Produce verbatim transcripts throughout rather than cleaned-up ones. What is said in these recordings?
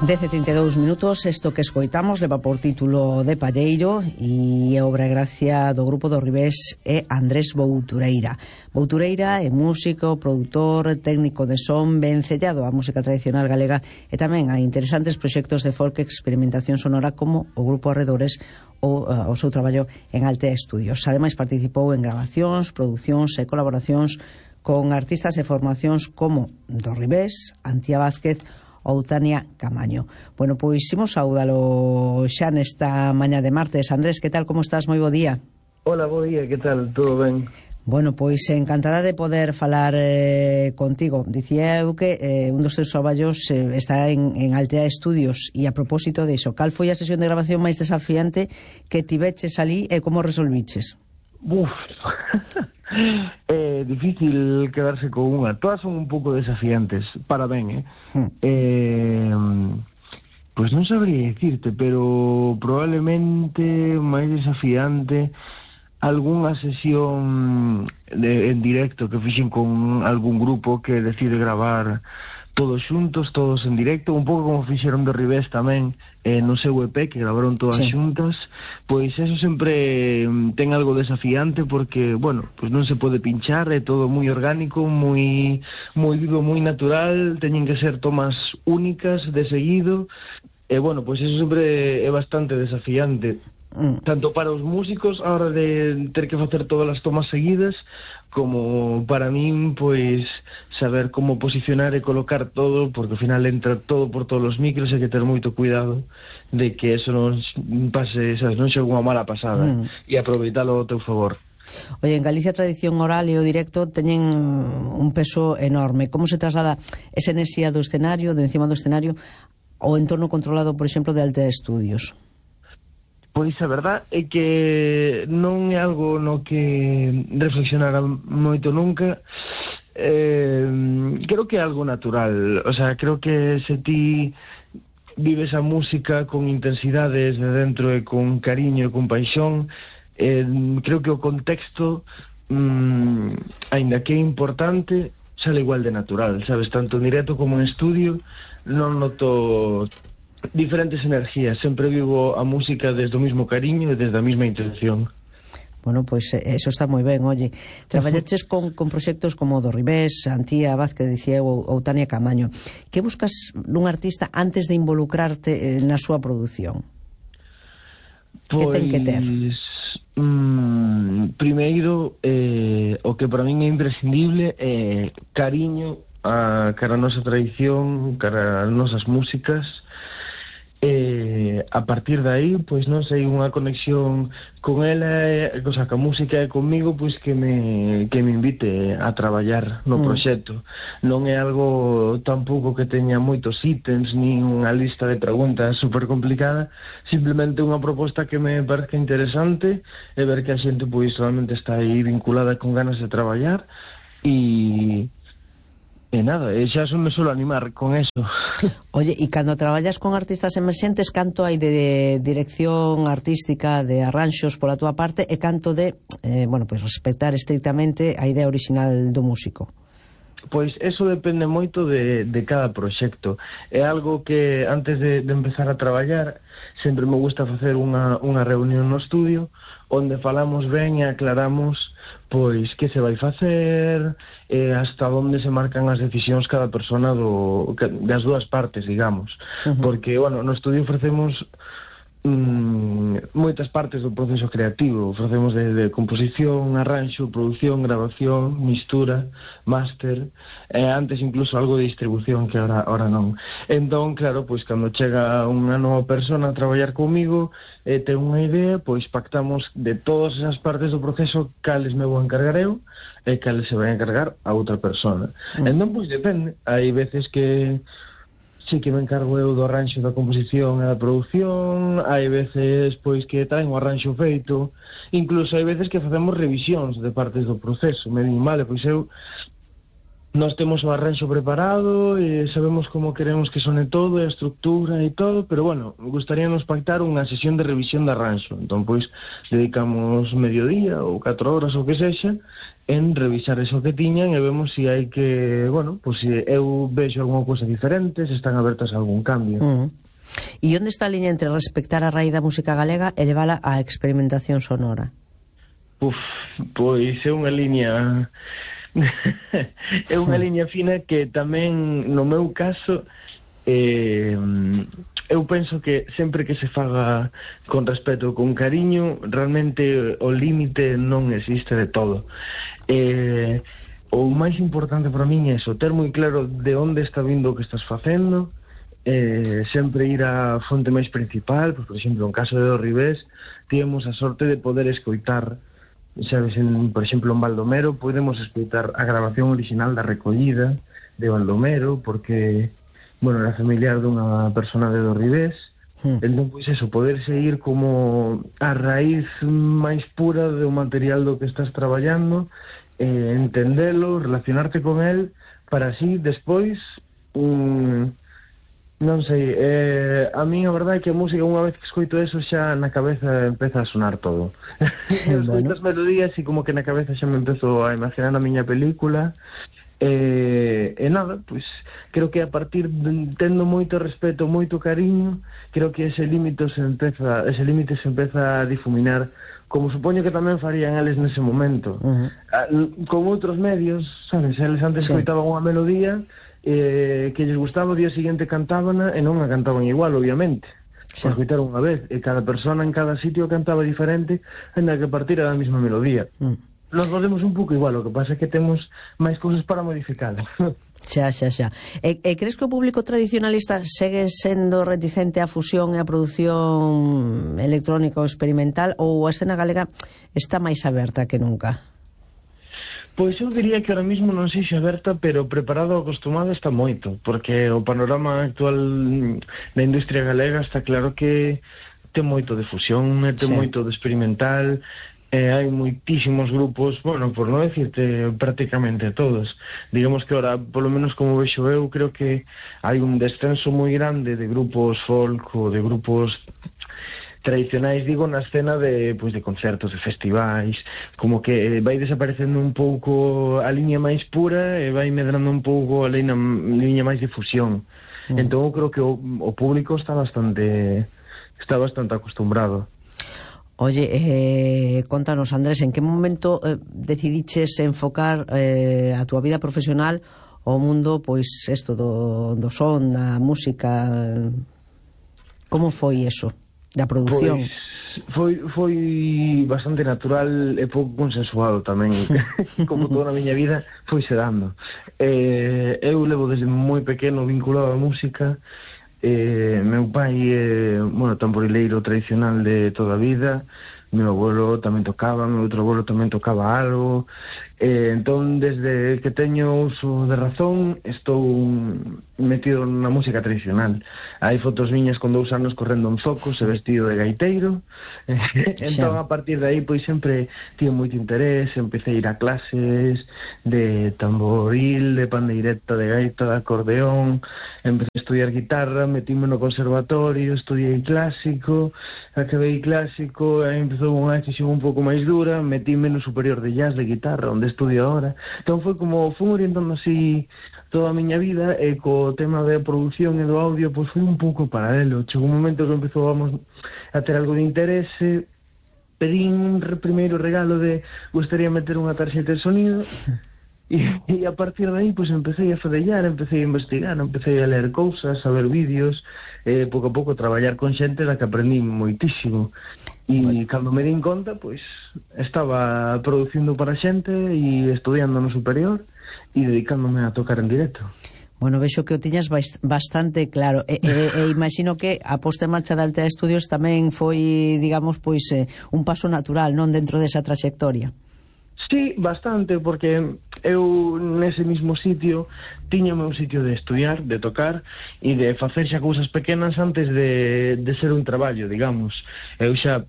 dez e trinta e dous minutos, isto que escoitamos leva por título De Palleiro e é obra e gracia do grupo do Ribés é Andrés Boutureira. Boutureira é músico, produtor, técnico de son, vencellado á música tradicional galega e tamén a interesantes proxectos de folk e experimentación sonora como o grupo Arredores ou uh, o seu traballo en Altea Estudios. Ademais participou en grabacións, producións e colaboracións con artistas e formacións como do Ribés, Antía Vázquez ou Tania Camaño. Bueno, pois imos saudalo xa nesta mañá de martes. Andrés, que tal, como estás? Moi bo día. Hola, bo día, que tal? Todo ben? Bueno, pois encantada de poder falar eh, contigo. Dicía eu que eh, un dos teus traballos eh, está en, en Altea Estudios e a propósito de iso, cal foi a sesión de grabación máis desafiante que tiveches ali e como resolviches? Uf, é difícil quedarse con unha. Todas son un pouco desafiantes, para ben, eh? Mm. eh Pois non sabría dicirte, pero probablemente máis desafiante algunha sesión de, en directo que fixen con algún grupo que decide gravar todos xuntos, todos en directo, un pouco como fixeron do Ribés tamén eh, no seu E P, que gravaron todas sí. xuntas. Pois eso sempre ten algo desafiante porque, bueno, pois non se pode pinchar, é todo moi orgánico, moi moi vivo, moi natural, teñen que ser tomas únicas de seguido, e bueno, pois eso sempre é bastante desafiante. Mm. Tanto para os músicos a hora de ter que facer todas as tomas seguidas, como para min, pois, saber como posicionar e colocar todo, porque ao final entra todo por todos os micros e hai que ter moito cuidado de que eso non pase, sabes, non xogue unha mala pasada, mm. e aproveitalo ao teu favor. Oye, en Galicia a tradición oral e o directo teñen un peso enorme. Como se traslada esa enerxía do escenario, de encima do escenario, ao entorno controlado, por exemplo, de Altea Estudios? Pois a verdad é que non é algo no que reflexionara moito nunca. Eh, creo que é algo natural. O sea, creo que se ti vives a música con intensidades de dentro e con cariño e con paixón, eh, creo que o contexto, mm, aínda que é importante, sale igual de natural, sabes? Tanto en directo como en estudio non noto diferentes energías, sempre vivo a música desde o mismo cariño e desde a mesma intención. Bueno, pois pues, eso está moi ben, oye. Traballaches con, con proxectos como do Ribés, Antía Vázquez, dicía, ou, ou Tania Camaño. Que buscas nun artista antes de involucrarte eh, na súa produción? Pois, que ten que ter? Mm, primeiro, eh, o que para min é imprescindible é cariño a cara a nosa tradición, cara as nosas músicas. E a partir de aí, pois non sei, unha conexión con ela, e, o sea, que a música é comigo, pois que me que me invite a traballar no mm. proxecto. Non é algo tampouco que teña moitos ítems, nin unha lista de preguntas super complicada, simplemente unha proposta que me parece interesante e ver que a xente pois solamente está aí vinculada con ganas de traballar e E nada, e xa son me solo animar con eso. Oye, e cando traballas con artistas emerxentes, canto hai de dirección artística, de arranxos pola túa parte, e canto de, eh, bueno, pois respectar estrictamente a idea original do músico? Pois eso depende moito de, de cada proxecto. É algo que antes de, de empezar a traballar sempre me gusta facer unha, unha reunión no estudio onde falamos ben e aclaramos pois que se vai facer e hasta onde se marcan as decisións cada persona do, das dúas partes, digamos. Uh-huh. Porque, bueno, no estudio ofrecemos Mm, moitas partes do proceso creativo. Ofrecemos de, de composición, arranxo, produción, grabación, mistura, máster, e antes incluso algo de distribución que ahora, ahora non. Entón, claro, pois cando chega unha nova persona a traballar comigo e ten unha idea, pois pactamos de todas esas partes do proceso cales me vou encargar eu e cales se vai encargar a outra persona. Mm. Entón, pois depende. Hai veces que sí que me encargo eu do arranxo da composición e da produción, hai veces pois que traen o arranxo feito, incluso hai veces que facemos revisións de partes do proceso. Me din, vale, pois eu Nós temos o arranxo preparado e sabemos como queremos que sone todo, a estructura e todo, pero bueno, gustaríanos pactar unha sesión de revisión de arranxo. Entón, pois, dedicamos mediodía ou catro horas ou que sexa en revisar eso que tiñan e vemos se si hai que, bueno, pois se eu vexo alguna cousa diferente, se están abertas a algún cambio. Uh-huh. E onde está a liña entre respectar a raíz da música galega e levala á experimentación sonora? Uf, pois é unha liña... é unha liña fina que tamén, no meu caso, eh, eu penso que sempre que se faga con respeto, con cariño, realmente o límite non existe de todo. Eh, o máis importante para min é eso, ter moi claro de onde está vindo o que estás facendo, eh, sempre ir á fonte máis principal. Pues, por exemplo, en caso de Do Ribés, tivemos a sorte de poder escoitar, sabes, en, por exemplo, en Baldomero podemos escoitar a grabación original da recollida de Baldomero, porque, bueno, era familiar dunha persona de Do Ribés. Hmm. Entón, pois eso, poder seguir como a raíz máis pura do material do que estás traballando, eh, entendelo, relacionarte con el, para así, despois, um, non sei, eh, a mí a verdade é que a música, unha vez que escoito eso, xa na cabeza empeza a sonar todo. Eu escoito as melodías e como que na cabeza xa me empezo a imaginar a miña película. E, e nada, pois creo que a partir de, tendo moito respeto, moito cariño, creo que ese límite se empeza, ese límite se empeza a difuminar, como supoño que tamén farían eles nese momento. Uh-huh. A, con outros medios, sabes, eles antes sí. escoitaban unha melodía eh, que lles gustaba, o día seguinte cantábana e non a cantaban igual, obviamente. Sí. Por escoitar unha vez, e cada persona en cada sitio cantaba diferente, ainda que partira da mesma melodía. Mm. Nos podemos un pouco igual, o que pasa é que temos máis cousas para modificar. Xa, xa, xa. E, e crees que o público tradicionalista segue sendo reticente á fusión e á produción electrónica ou experimental, ou a escena galega está máis aberta que nunca? Pois eu diría que ahora mismo non sei se aberta, pero preparado ou acostumado está moito, porque o panorama actual da industria galega está claro que ten moito de fusión, ten sí. moito de experimental, eh, hai moitísimos grupos, bueno, por non decirte prácticamente todos. Digamos que ahora, polo menos como vexo eu, creo que hai un descenso moi grande de grupos folk ou de grupos tradicionais, digo, na escena de, pois, de concertos, de festivais, como que vai desaparecendo un pouco a liña máis pura e vai medrando un pouco a liña, liña máis de fusión. Mm. Entón, eu creo que o, o público está bastante está bastante acostumbrado. Oye, eh, contanos, Andrés, en que momento eh, decidiches enfocar eh, a túa vida profesional ao mundo, pois, esto do, do son, da música? Como foi eso? Da produción? Pois foi, foi bastante natural e pouco consensuado tamén. Como toda a miña vida foi se dando. Eh, eu levo desde moi pequeno vinculado á música. Eh, meu pai é, bueno, tamborileiro tradicional de toda a vida. Meu abuelo tamén tocaba, meu outro abuelo tamén tocaba algo. Eh, entón, desde que teño uso de razón, estou metido na música tradicional. Hai fotos miñas con dous anos correndo en zocos e vestido de gaiteiro. Entón, a partir de aí, pois sempre tive moito interés, empecé a ir a clases de tamboril, de pandeireta, de gaita, de acordeón, empecé a estudiar guitarra, metíme no conservatorio, estudiei clásico, acabei clásico, e empezou unha decisión un pouco máis dura, metíme no superior de jazz de guitarra, onde estudio ahora. Entón foi como, fui orientando así toda a miña vida, e co tema da produción e do audio, pois foi un pouco paralelo. Chegou un momento que empezou vamos, a ter algo de interese, pedín un primeiro regalo de gustaría meter unha tarxeta de sonido, e, e a partir de aí pois empecé a fadellar, empecé a investigar, empecé a ler cousas, a ver vídeos, e pouco a pouco traballar con xente da que aprendí moitísimo. E bueno, cando me din conta, pois estaba producindo para xente e estudiando no superior e dedicándome a tocar en directo. Bueno, vexo que o tiñas bastante claro. E, e, e imagino que a posta en marcha da Altea Estudios tamén foi, digamos, pois eh, un paso natural, non, dentro desa traxectoria. Sí, bastante, porque eu nese mismo sitio tiña o meu sitio de estudiar, de tocar e de facer xa cousas pequenas antes de, de ser un traballo, digamos. Eu xa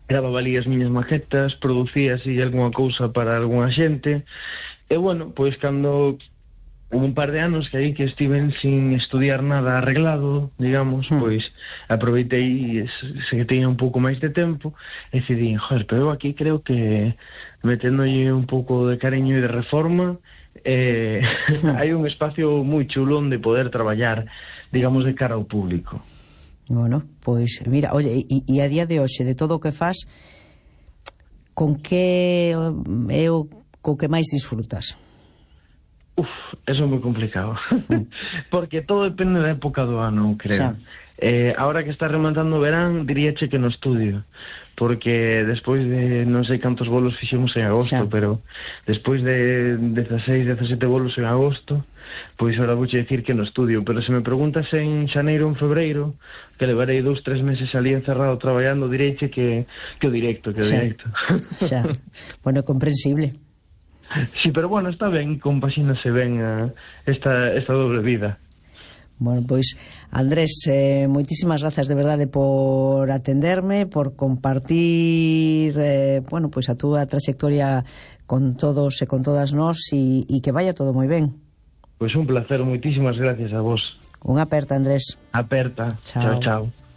gravaba ali as miñas maquetas, producía así algunha cousa para algunha xente, e bueno, pois cando un par de anos que aí que estiven sin estudiar nada arreglado, digamos, mm. pois aproveitei se que teña un pouco máis de tempo e decidí, joder, pero eu aquí creo que meténdolle un pouco de cariño e de reforma eh, mm. hai un espacio moi chulo onde poder traballar, digamos, de cara ao público. Bueno, pois mira, oye, e, e a día de hoxe de todo o que faz, con que é o co que máis disfrutas? Uf, eso é moi complicado. Porque todo depende da época do ano, creo. Eh, ahora que está rematando o verán, diríache que no estudio. Porque despois de non sei cantos bolos fixemos en agosto, xa. Pero despois de dezasseis, dezasete bolos en agosto, pois ahora vouche dicir que no estudio. Pero se me preguntas en xaneiro ou en febreiro, que levarei dous, tres meses ali encerrado traballando, direiche que, que o directo, que o xa. directo. Xa. Bueno, comprensible. Sí, pero bueno, está ben, compaxínase ben uh, esta, esta doble vida. Bueno, pois, Andrés, eh, moitísimas grazas de verdade por atenderme, por compartir eh, bueno, pois a túa trayectoria con todos e con todas nós e, e que vaya todo moi ben. Pois un placer, moitísimas gracias a vos. Unha aperta, Andrés. Aperta. Chao, chao. chao.